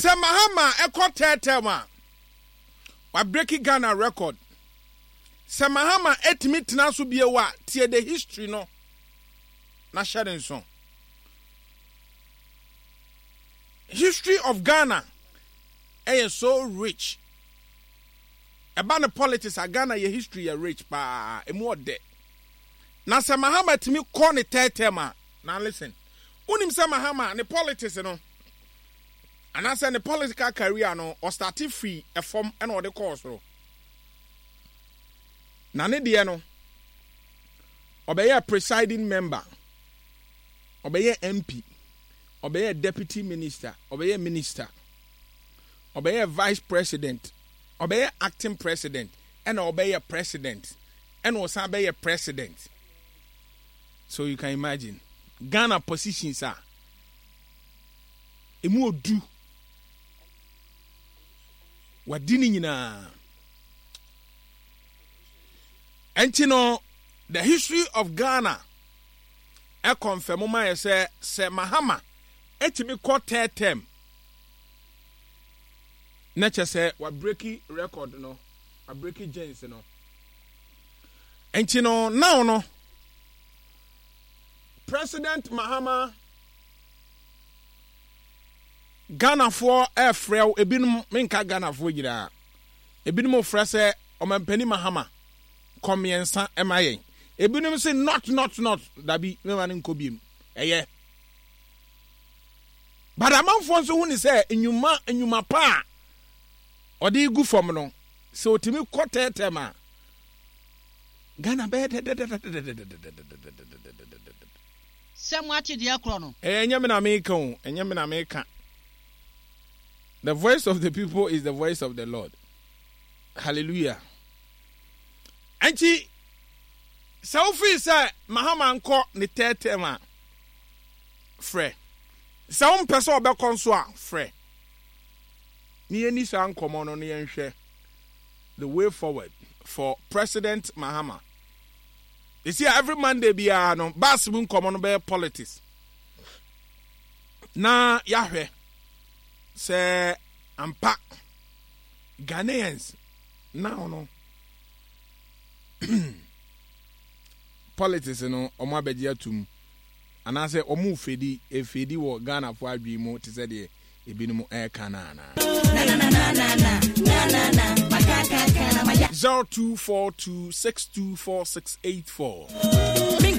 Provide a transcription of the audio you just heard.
Sɛ Mahama ɛkɔ third term a, wabreaki Ghana record. Sɛ Mahama ɛtumi tena so bio a, tie the history no na hyɛ ne nso. History of Ghana ɛyɛ so rich. Ɛba no politics a, Ghana yɛ history yɛ rich paa, emu ɔdɛ. Na sɛ Mahama tumi kɔ ne third term a, now listen, wonim sɛ Mahama ne politics no, anaasɛ ne political career no, ɔstarte firi ɛfam ɛna ɔde kɔɔ soro. Na ne deɛ no, ɔbɛyɛɛ presiding member, ɔbɛyɛɛ MP, ɔbɛyɛɛ deputy minister, ɔbɛyɛɛ minister, ɔbɛyɛɛ vice president, ɔbɛyɛɛ acting president, ɛna ɔbɛyɛɛ president, ɛna ɔsan bɛyɛ president. So you can imagine Ghana positions a emu odu wadi ne nyinaa. Ɛnti no the history of Ghana ɛkɔnfɛm ma yɛ sɛ sɛ Mahama ɛtumi kɔ third term na kyɛ sɛ wabreki record no, wabreki gens no. Nti no now no President Mahama Ghanafoɔ ɛfrɛ wo ebinom menka Ghanafoɔ nyinaa ebinom frɛ sɛ ɔmampanin Mahama kɔ mmiɛnsa ɛma yɛn ebinom se not not not dabi mema no nkɔ biem ɛyɛ but amanfoɔ nso hu ne sɛ nnwuma nnwuma pa a ɔde gu fam no sɛ ɔtumi kɔ tɛɛtɛm a Ghana bɛyɛ dɛdɛdɛdɛdɛdɛdɛdɛdɛdɛdɛdɛdɛdɛdɛdɛdɛdɛdɛ. Sɛ moate deɛ ɛkorɔ no. Ɛyɛ ɛnyɛ me na meka o, ɛnyɛ me na meka. The voice of the people is the voice of the Lord. Hallelujah. Ɛnti sɛ wofii sɛ Mahama nkɔ ne third term a, frɛ. Sɛ wompɛ sɛ ɔbɛkɔ nso a, frɛ. Ne yɛnni saa nkɔmmɔ no na yɛnhwɛ the way forward for President Mahama. You see, every Monday biara no, bus mu nkɔmmɔ no bɛyɛ politics. Na yɛahwɛ sɛ ampa Ghanaians now no politics no wɔn abɛgye atum anaasɛ wɔn fedi efedi wɔ Ghanafoɔ adwene mu te sɛ deɛ ebinom reka no anaa? 0242624684.